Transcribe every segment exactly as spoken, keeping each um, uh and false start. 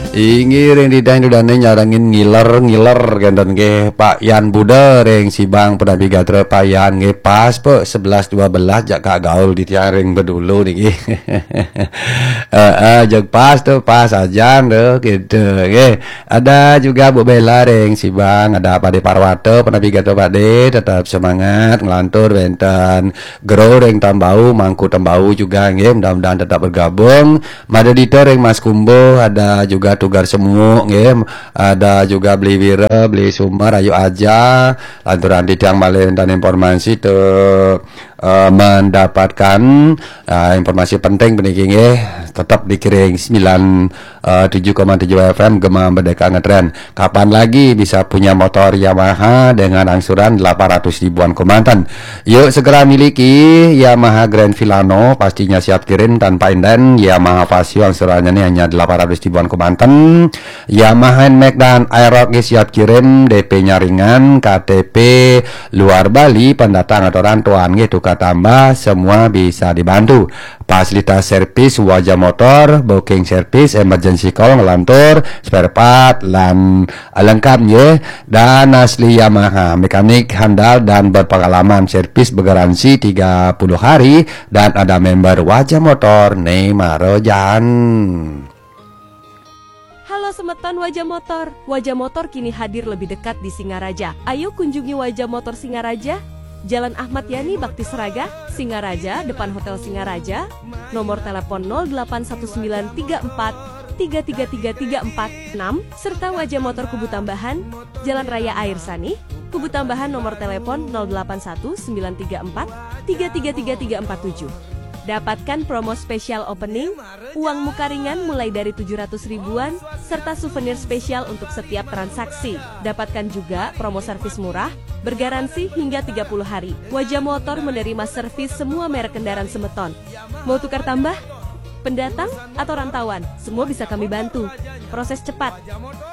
Inggih ring titiang dane nyarengin ngiler-ngiler kenten nggih, Pak Yan Buda ring Sibang, punapi gatra Pak Yan nggih, pas pe sebelas dua belas jak kagaul titiang ring bedulu niki. Heeh, jeg pas tu, pas ajan tu gitu nggih. Ada juga Bu Bella ring Sibang, ada Pade Parwata, punapi gatra Pade, tetap semangat nglantur wenten Gro ring Tambau, Mangku Tambau juga nggih, mudah-mudahan tetap bergabung. Mada Dita ring Mas Kumbuh, ada juga Tugar Semuk nggih, ada juga Beli Wira, Beli Sumar, ayu aja. Lanturan titiang malih wenten informasi tu, eh, mendapatkan, eh, informasi penting puniki nggih, tetap dikiring sembilan, eh, tujuh koma tujuh F M Gema Merdeka Ngetren. Kapan lagi bisa punya motor Yamaha dengan angsuran delapan ratus ribuan kemanten? Yuk segera miliki Yamaha Grand Filano, pastinya siap kirim tanpa inden. Yamaha Fazzio angsurannya nih hanya delapan ratus ribuan kemanten. Yamaha Nmax dan Aerox nggih siap kirim, D P-nya ringan, K T P luar Bali, pendatang atau rantauan nggih tukar tambah, semua bisa dibantu. Fasilitas servis Waja Motor, booking service, emergency call, ngelantur, spare part, lan lengkap nggih. Dan asli Yamaha, mekanik handal dan berpengalaman, servis bergaransi tiga puluh hari, dan ada member Waja Motor, ne mara jaan. Halo semeton Waja Motor. Waja Motor kini hadir lebih dekat di Singaraja. Ayo kunjungi Waja Motor Singaraja, Jalan Ahmad Yani Bakti Seraga, Singaraja, depan Hotel Singaraja. Nomor telepon nol delapan satu sembilan tiga empat tiga tiga tiga tiga empat enam, serta Waja Motor Kubu Tambahan, Jalan Raya Air Sani, Kubu Tambahan, nomor telepon nol delapan satu sembilan tiga empat tiga tiga tiga tiga empat tujuh. Dapatkan promo spesial opening, uang muka ringan mulai dari tujuh ratus ribuan, serta souvenir spesial untuk setiap transaksi. Dapatkan juga promo servis murah, bergaransi hingga tiga puluh hari. Waja Motor menerima servis semua merek kendaraan semeton. Mau tukar tambah? Pendatang atau rantauan, semua bisa kami bantu. Proses cepat.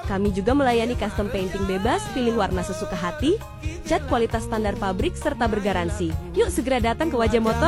Kami juga melayani custom painting bebas, pilih warna sesuka hati, cat kualitas standar pabrik, serta bergaransi. Yuk segera datang ke Waja Motor.